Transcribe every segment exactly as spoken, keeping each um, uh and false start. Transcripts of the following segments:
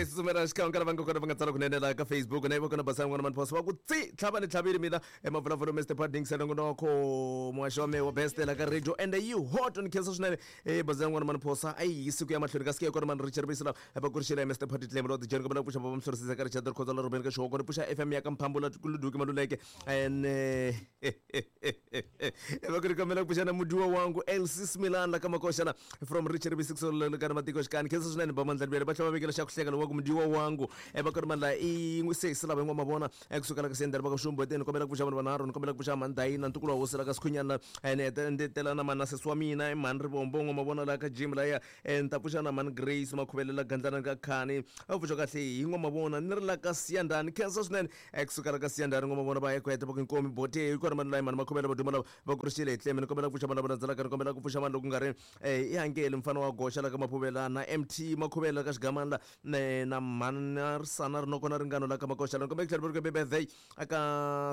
Hi tsutsumela xikan'we ka lava nga kona va nga tsala kunene laha ka Facebook na ivo kona basana n'wana mani phosa va ku tsi tlhava ni tlhavile mina emavulavula Mister Padding Nongonoko muhaxi wa mehe wa best la ka radio and yi hot ni khensa swinene e bazana n'wana mani phosa a yi yisi ku ya mahlweni kasi ke kona mani Richard Bisela va kurixela hi Mister Paddy Tlemo Lord Jeni kombela ku pfuxa baba mhlorisisa ka Richard Khoza la Ruben ka Xihoko ni pfuxa F M ya ka Mphambula Luduki Maluleke and va ku ri kombela ku pfuxa na mudiwa wangu L C Smilan la ka Makoxana from Richard B six le ka matiko xikani khensa swinene ba mandla bele ba tlhava vekela xa ku hleka lowa ku mudiwa wangu e va ku ri mandla i n'wi sesi lava n'wa mavona kusuka la ka sendela va ka Xumboteni kombela ku pfuxa vanhu vanharhu ni kombela ku pfuxa Mandayina ntukulu wa hosi la ka Sikhunyana ene ndetela na mana sesi wa mina i mhani Rivombo n'wa mavona la ka Jim laya ni ta pfuxa na mhani Grace Makhubelela Gandlana ka Khani a pfuxa kahle hi n'wa mavona ni ri la ka Siyandani khensa swinene kusuka la ka Siyandani n'wa mavona va ya ku heta va ku inkomi bote hi kona mani layi mhani Makhubela va duma lava va kurixile hi tleme ni kombela ku pfuxa vanhu lava landzelaka ni kombela ku pfuxa vanhu loko ku nga ri i Hankeli mfana wa goxa la ka Maphuvela na M T Makhubela ka Xigamani la na mhani Risana Rinoko na Ringano la ka Makoxa la ni kombela ku tlhela va ri birthday aka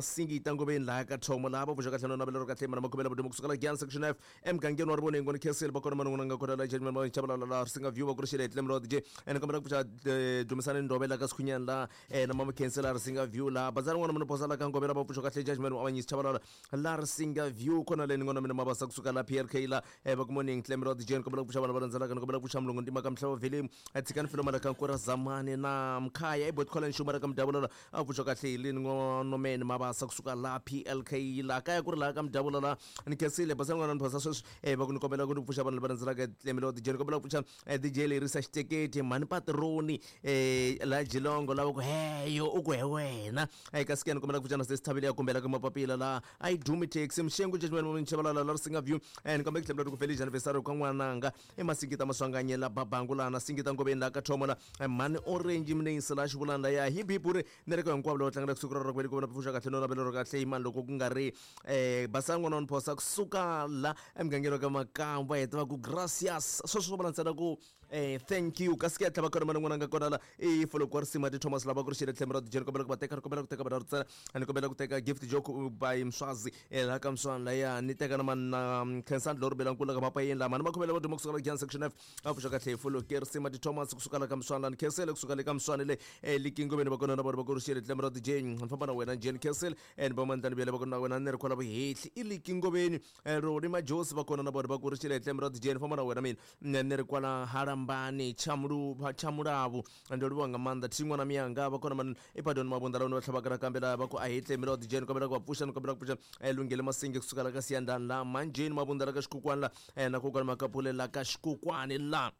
Singita Ngoveni laha ka Thomo laha va pfuxa kahle no navela ro kahle mhani Makhubela va duma kusuka la Giyani section F emugangeni wa Rivoneng ni khensile va kona mani n'wana nga kona la Judgment va Chabalala la Risinga View va kurixile hi tleme lo D J ni kombela ku pfuxa Dumisani Ndovela ka Sikhunyani la na mama Khensile la Risinga View la bazana n'wana mani posa la ka Ngovela va pfuxa kahle Judgment wa Avanyisi Chabalala la Risinga View kona le ni n'wana mina mabasa kusuka la P R K la va ku morning tleme lo D J ni kombela ku pfuxa vanhu va landzelaka ni kombela ku pfuxa Mulungu Ntima ka Mhlava Vhele tshikani filoma la ka Nkura Zamani na Mkhaya i Bot College Xuma la ka Mdavula la a pfuxa kahle hi le ni n'wana mabasa kusuka la P L K la kaya ku ri la ka Mdavula la ni khensile bazana n'wana ni phosa sweswi va ku ni kombela ku ni pfuxa vanhu lava landzelaka tleme lo D J ni kombela ku pfuxa D J Lerisa Xiteketi mhani Patroni la Jilongo lava ku heyo u ku he wena kasi ke ni kombela ku pfuxa na Sesi Thabile ya kumbela ka mapapila la a yi dumi taxi Mxengu Judgment wa Chabalala la Risinga View ni kombela ku tlhela ku feliz anniversary ka n'wananga i Masingita Maswanganye la Babangu la na Singita Ngoveni la ka Thomo la mhani Orange Mnensi la Xivulani la ya hi biburi ni ri ka hinkwavo lava tlangela kusuka ra ku vona pfuxa kahle no navela ro kahle hi mani loko ku nga ri basana n'wana wa phosa kusuka la emugangeni wa ka Makamba heta va ku gracias sweswo swo vula ntsena ku thank you kasi ke ya tlhava kona mani n'wana nga kona la i foloko wa risima ti Thomas lava ku ri xile tlhelo ra D J ni kombela ku va teka ni kombela ku teka vanhu ntsena ni kombela ku teka gift joke by Mswazi laha ka Mswana laya ni teka na mani na Khensani Lori Belankulu ka Mapayeni la mani Makhubela va duma kusuka la Giyani section F a pfuxa kahle hi foloko risima ti Thomas kusuka la ka Mswana ni khensele kusuka le ka Mswana le Likingomeni va kona na vona va ku ri xile tlhelo ra D J ni famba na wena Jane Khensele ni va mandlani bele va kona na wena ni ri kwala vuhehli i Likingomeni Roni Majosi va kona na vona va ku ri xile tlhelo ra D J ni famba na wena mina ni ri kwala Harambani Chamulu Chamulavu ndo livhuwa nga maanḓa thin'wana miyanga va kona mani i Pardon Mabunda la va tlhavaka nakambe la va ku a hi tlhelo ra D J ni kombela ku va pfuxa ni kombela ku pfuxa Lunghele Masingi kusuka la ka Siyandani la Manjeni Mabunda la ka Xikukwani la na kokwana Makapule la ka Xikukwani la.